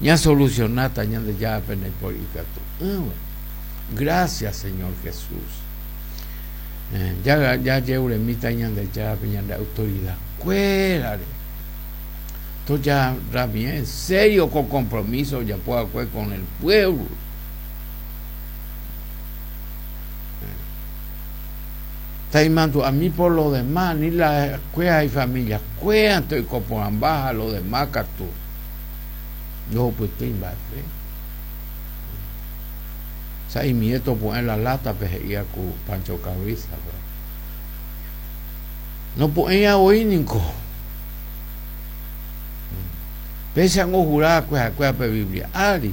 Ñasolucionáta Ñandejárape ndaipóri ikatu'ỹva. Gracias Señor Jesús. Eh, jajeuremíta Ñandejárape ñande autoridad kuérare. Tojarra bien en serio ko compromiso ojapo va'ekue con el pueblo. Taimandu'ami por lo demás, ni la kuéra ifamilia kuérante oiko porãmba ha lo demás katu ndohupytýi mba'eve. Sa'imie topu'ẽ la látape he'íva ku Pancho Cabriza-pe. Nopu'ẽiva voi niko. Péicha angohura va'ekue ha'ekuéra pe Biblia ári.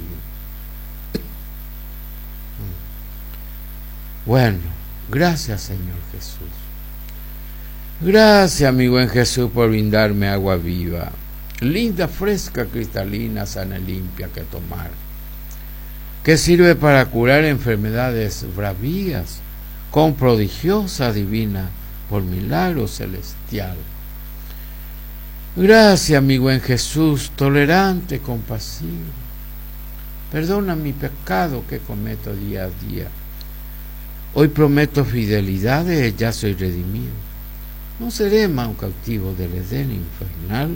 Bueno, gracias Señor Jesús. Gracias, mi buen Jesús, por brindarme agua viva, linda, fresca, cristalina, sana y limpia que tomar, que sirve para curar enfermedades bravías, con prodigiosa divina, por milagro celestial. Gracias, mi buen Jesús, tolerante, compasivo. Perdona mi pecado que cometo día a día. Hoy prometo fidelidad, ya soy redimido. No seré más un cautivo del Edén infernal.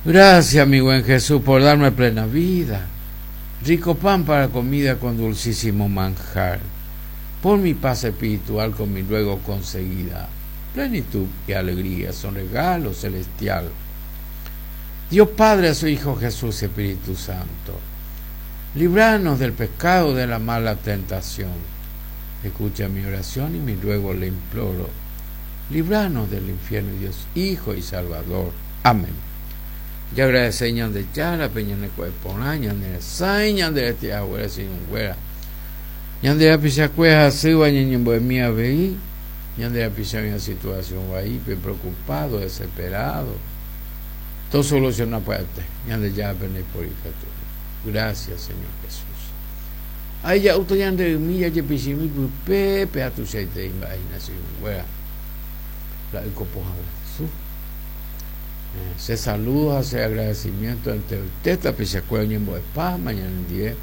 Gracias, mi buen Jesús, por darme plena vida, rico pan para comida con dulcísimo manjar, por mi paz espiritual con mi luego conseguida. Plenitud y alegría son regalo celestial. Dios Padre a su Hijo Jesús Espíritu Santo. Libranos del pecado de la mala tentación. Escucha mi oración y mi ruego le imploro. Libranos del infierno, Dios Hijo y Salvador. Amén. Jagradece Ñandejárape ñaneku'e porã, ñane resãi, ñande rete haguére che irũnguéra. Ñande rapichakue hasýva ñañembo'emi avei, ñande rapicha oĩva situación vaípe, preocupado, desesperado. Tosoluciona pya'ete. Ñandejárape ndaipóri ikatu. Gracias, Señor Jesús. Ay, ja'úta ñande ymi jajepichĩmi pype, péa tuichaitei mba'e hína che irũnguéra. La yko pohã guasu. Eh, che saludo ha che agradecimiento enteroite tapichakuéra oñembo'epáma ñanendie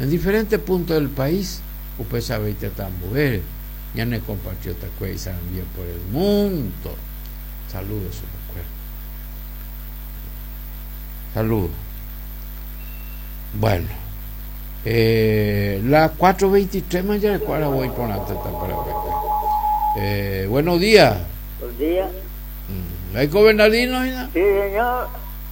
en diferentes puntos del país, upéicha avei tetã ambuére, ñane compatriotakuéra isarambíva por el mundo. Saludo chupekuéra. Saludo. Bueno, eh, las 4.23 más ya recuerda voy por la teta para eh, buenos días. Buenos días. Mm, ¿Hay Bernardino? Sí, señor.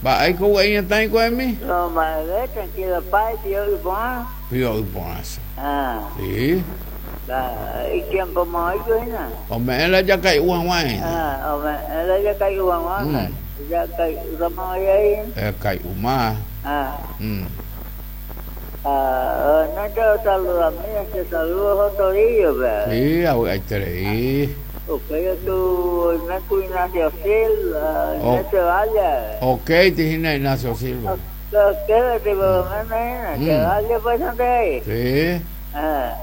Va, hay que está ahí con mí? No, madre, tranquilo, pai, tío, y pon. Tío, y pon eso. Ah. Sí. Y tiempo más hoy, ¿no? Ome la ya cae uan Ah, ome la ya cae uan mm. Ya cae uan ahí. Eh, cae uma. Ah. Mm. Ah, no te saludo a mí, te saludo a Torillo, ¿verdad? Sí, ahí te reí. Ok, tu Ignacio Silva, Ignacio Valle. Ok, te dije Ignacio Silva. Ok, te que vaya pues ahí. Sí. Ah.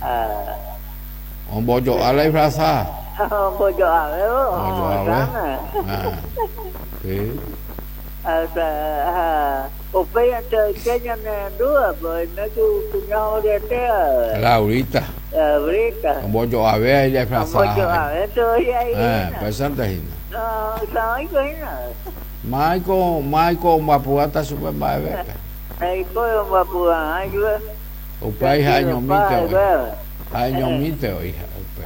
Ah. Un bollo a la disfrazada. Un bollo a ver, Bollo a ver. Ah. Sí. Hasta upéi ante ñane pues no tu cuñado de tea. Laurita. Laurita. Un bollo a ver ella disfrazada. Un bollo a ver todavía ahí. Eh, pues antes No, no, no. Michael, Michael, mbapu'áta chupe mba'evépe. Michael, mbapu'arã chupe. Upéi ha'eñomínte oĩ. Ha'eñomínte oĩ upe.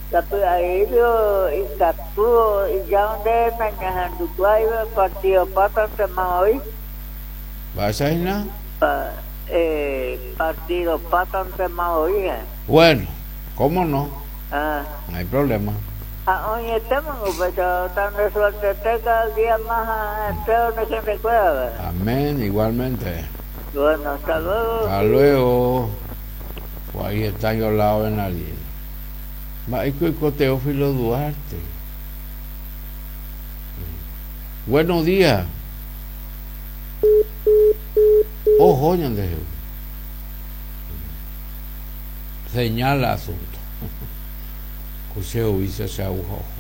Sapy'aígui ikatu ijao nde nañahendukuaáiva partido pátantema oĩ. Mba'éicha hína? Partido pátantema oĩ. Bueno, cómo no. No hay problema. Ha oĩetéma upéicha tan de suertete cada día más ha'ete umi hentekuérape. Amén, igualmente. Bueno, hasta luego. Hasta luego. Pues ahí está yo al lado de Bernardino. Mba'éiko oiko Teófilo Duarte. Buenos días. Oho ñandehegui. Señala asunto. Ko che oícha che aguja oho.